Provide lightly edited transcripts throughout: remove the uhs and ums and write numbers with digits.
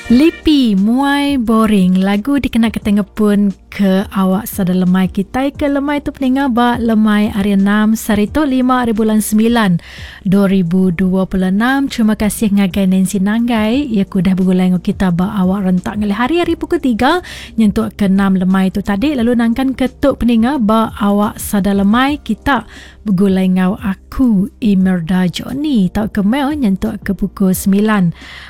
Lipi muai boring lagu dikena kita ngepun ke awak sada lemai kitai ke lemai tu peninga ba lemai hari 6 sehari tu 5 hari bulan 9 2026. Terima kasih ngagai Nancy Nanggai ia ku dah begulai enggau kita ba awak rentak ngalih hari hari pukul 3 nyentuk ke 6 lemai tu tadi lalu nangkan ke tu peninga ba awak sada lemai kita Begulai enggau aku Imerda Johnny tauka Mel nyentuk ke pukul 9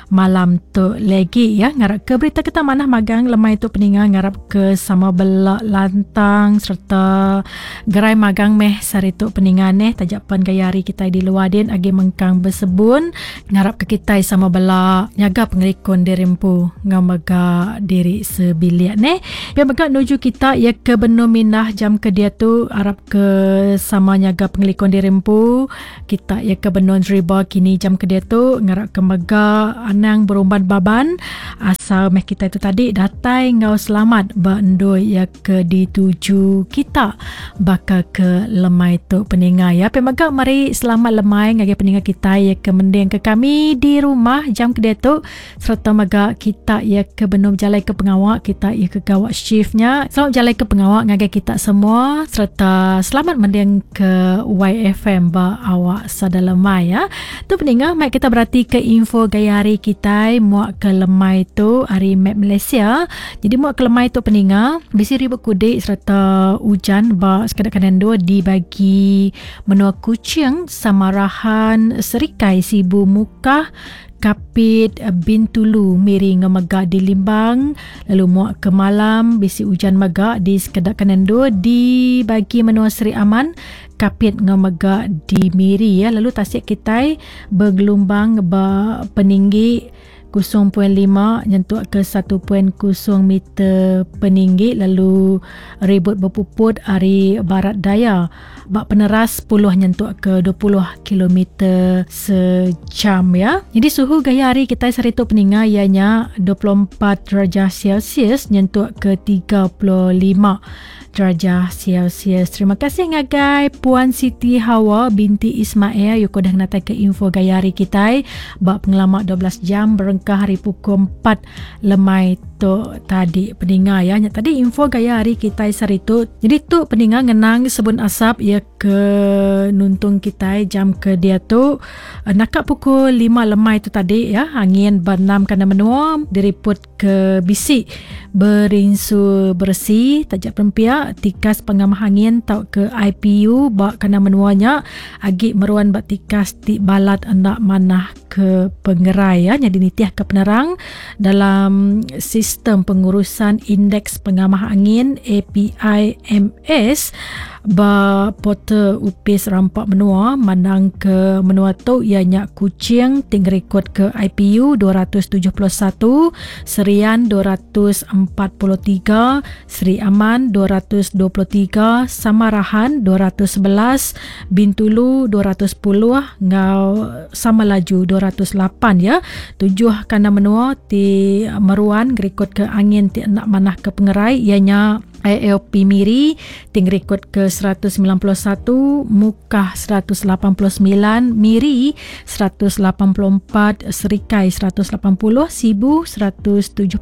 malam tu legi ya. Ngarap ke berita kita manah magang lemai tu peninga ngarap ke sama bela lantang serta gerai magang meh sehari tu peninga neh taja pen gaya hari kitai di luar din agi mengkang besebun ngarap ke kitai sama bela nyaga pengelikun diri empu enggau mega diri sebilik neh. Pia mega nuju kita iya ke benung mindah jam ke diatu arap Ke sama nyaga pengelikun diri empu, kita iya ke benung deriba kini jam ke diatu ngarap ke mega anang berumban baban asal meh kitai tu tadi datai enggau selamat ba endur iya ke dituju kita baka ke lemai tu peninga iya. Pia mega meri selamat lemai ngagai peninga kitai iya ke mending ke kami di rumah jam ke diatu. Sereta mega kita iya ke benung bejalai ke pengawa kita iya ke gawa shift nya. Selamat bejalai ke pengawa ngagai kita semua sereta selamat mending ke YFM ba awak sada lemai ya. Tu peninga mai kita berati ke info gaya hari kitai muak ke lemai tu ari map Malaysia. Jadi muak ke lemai tu peninga bisi ribut kudik sereta ujan ba sekeda kandang endur di bagi menua Kuching, Samarahan, Serikai, Sibu, Mukah, Kapit, Bintulu, Miri enggau mega di Limbang lalu muak ke malam bisi ujan mega di sekeda kandang endur di bagi menua Sri Aman, Kapit enggau mega di Miri ya lalu tasik kitai begelumbang ba peninggi 0.5 nyentuk ke 1.0 meter peninggi lalu ribut bepuput ari barat daya ba peneras 10 nyentuk ke 20 kilometer sejam ya. Jadi suhu gaya hari kitai sehari tu peninga iya nya 24 darjah Celsius nyentuk ke 35 darjah Celsius. Terima kasih ngagai Puan Siti Hawa binti Ismail yuko dah ngenatai ke info gaya hari kitai ba pengelama 12 jam berengkah hari pukul 4 lemai tu tadi peninga ya. Nya tadi info gaya hari kitai sehari tu. Jadi tu peninga ngenang sebun asap ya ke nuntung kitai jam ke diatu naka pukul 5 lemai tu tadi ya angin ba 6 kandang menua diriput ke bisi berinsu beresi taja pempia tikas pengamah angin tauka IPU ba kandang menua nya agi meruan ba tikas ti balat enda manah ke pengerai ya nyadi nitih ke penerang dalam sistem pengurusan indeks pengamah angin APIMS ba portal Upis Rampa Menua mandang ke menua tu iya nya Kuching ti ngerikod ke IPU 271, Serian 243, Sri Aman 223, Samarahan 211, Bintulu 210 enggau Samalaju 208 ya. Tujuh kandang menua ti meruan ngerikod ke angin ti enda manah ke pengerai iya nya ALP Miri ti ngerikod ke 191, Mukah 189, Miri 184, Serikai 180, Sibu 176,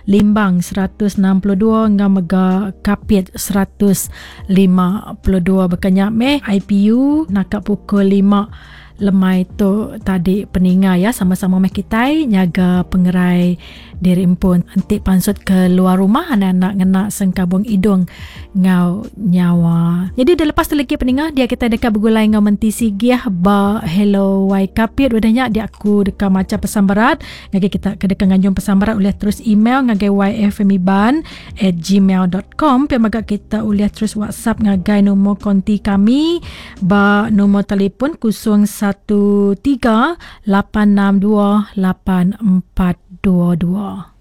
Limbang 162 enggau mega Kapit 152. Baka nya meh IPU naka pukul 5 lemai tu tadi peninga ya sama-sama meh kitai nyaga pengerai diri empu enti pansut ke luar rumah anak-anak ngena sengkabung idung enggau nyawa. Jadi dah lepas tu lagi peninga dia kita deka begulai enggau menti sigih ba Hello Y Kapit udah nya dia aku deka macha pesan berat ngagai kita ke deka nganjung pesan berat ulih terus email ngagai yfmiban@gmail.com pia mega kita ulih terus WhatsApp ngagai nombor konti kami ba nombor telefon 013 862 8422.